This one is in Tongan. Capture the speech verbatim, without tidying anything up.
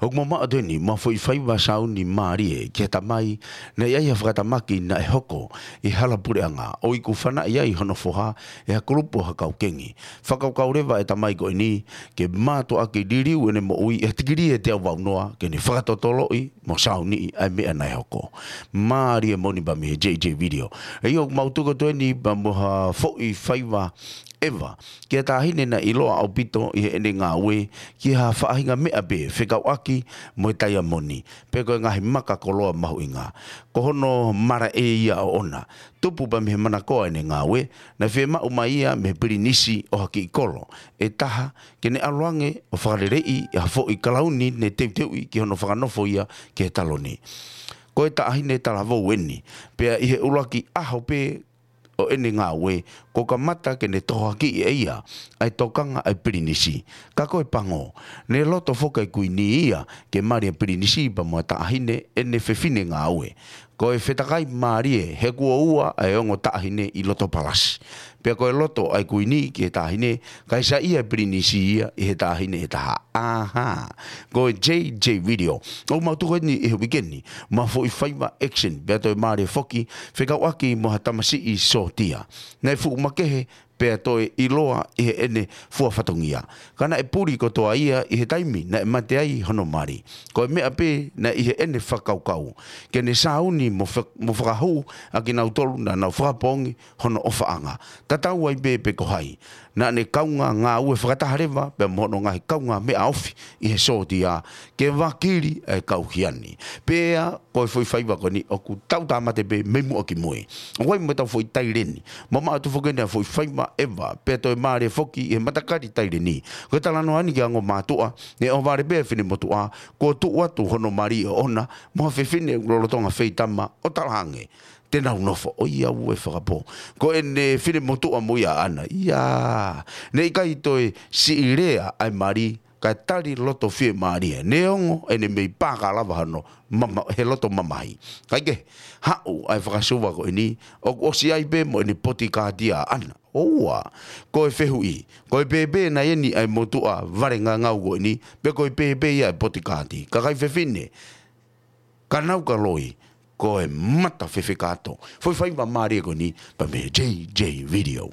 ʻOku mau maʻu atu eni mo ha foʻi faiva sauni mālie ki he tamai naʻe ʻi ai ha fakatamaki naʻe hoko ʻi Halapuleʻanga, ʻo iku fanaʻi ai hono foha ʻe ha kulupu ha kau kengi. Fakakaukau leva e tamai ko eni ke mātuʻaki liliu ʻene moʻui ʻi ha tikilī ʻe teau valu noa ke ne fakatotoloʻi mo sauniʻi ʻa e meʻa naʻe hoko. Mālie moʻoni pea mei he J J Video. ʻA ia ʻoku mau tuku atu eni pea mo ha foʻi faiva ʻeva ki ha taʻahine naʻe ʻiloa ʻaupito ʻi heʻene ngāue ki ha faʻahinga meʻa pē fekauʻaki mo e taiamoni, pe ko e ngaahi maka koloa mahuʻinga. Ko hono malaʻe ia ʻoʻona. Tupu pea mei he manakoa ʻene ngāue, naʻe fiemaʻu mai ia mei he pilinisi ʻo ha kiʻi kolo ʻe taha ke ne ʻalu ange ʻo fakaleleiʻi ha foʻi kalauni ne teuteuʻi ki hono fakanofo ia ki he taloni. Ko e taʻahine talavou eni, pea ʻi he ʻuluaki ʻaho pē ʻo ʻene ngāue, kuo kamata ke ne tohoakiʻi ʻe ia ʻa e tokanga ʻa e pilinisi. Ka ko e pango, ne loto foki ʻa e kuini ia ke mali ʻa e pilinisi pea mo e taʻahine ʻene fefine ngāue. Ko e fetakai mālie he kuo ua ʻa e ongo taʻahine ʻi loto palasi. Pea ko e loto ʻa e kuini ki he taʻahine, kae saiʻia e pilinisi ia ʻi he taʻahine ʻe taha. ʻAhā. Ko e J J Video. ʻOku mau tuku eni ʻi he uike ni mo ha foʻi faiva action, pea toe mālie foki fekauʻaki mo ha tamasiʻi sōtia naʻe fuʻu makehe pea toe ʻiloa ʻi heʻene fua fatongia. Ka naʻe puli kotoa ia ʻi he taimi naʻe mate ai hono mali. Ko e meʻa pē naʻe ʻi heʻene fakakaukau ke ne sauni mo fe-, mo fakahū ʻa kinautolu naʻa nau fakapoongi hono ʻofaʻanga. Tatau ai pē pe ko hai. Naʻa ne kaungā ngāue fakataha leva pea mo hono ngaahi kaungāmeʻa ofi ʻi he sōtia ke vakili ʻa e kau hiani. Pea ko e foʻi faiva ko eni ʻoku tau tāmate pē mei muʻa ki mui. ʻOku ʻi ai mo ʻetau foʻi taileni. Mau maʻu atu foki eni ha foʻi faiva ʻeva, pea toe mālie foki ʻi he matakali taileni. Ko e talanoa eni ki he ongo mātuʻa, ne ʻohovale pē ʻa e finemotuʻa, kuo tuʻu atu hono mali ʻoʻona mo ha fefine lolotonga feitama ʻo talaange te nau nofo. ʻOiauē fakapō. Ko ʻene finemotuʻa mo ia ʻaʻana. ʻIa. Ne ʻikai toe siʻi lea ʻa e mali, kae tali loto fiemālie. Neongo ʻene mei pāka lava hano mama-, he loto mamahi. Kae kehe, haʻu ʻa e fakasuva ko eni, ʻoku ʻosi ai pē mo ʻene potikaati ʻaʻana. ʻOua. Ko e fehuʻi, ko e pēpē nai eni ʻa e motuʻa vale ngangau ko eni, pe ko e pēpē ia ʻa e potikaati. Kakai fefine, ka nau ka loi, ko e mata fefekato. Foʻi faiva mālie ko eni pea mei he J J Video.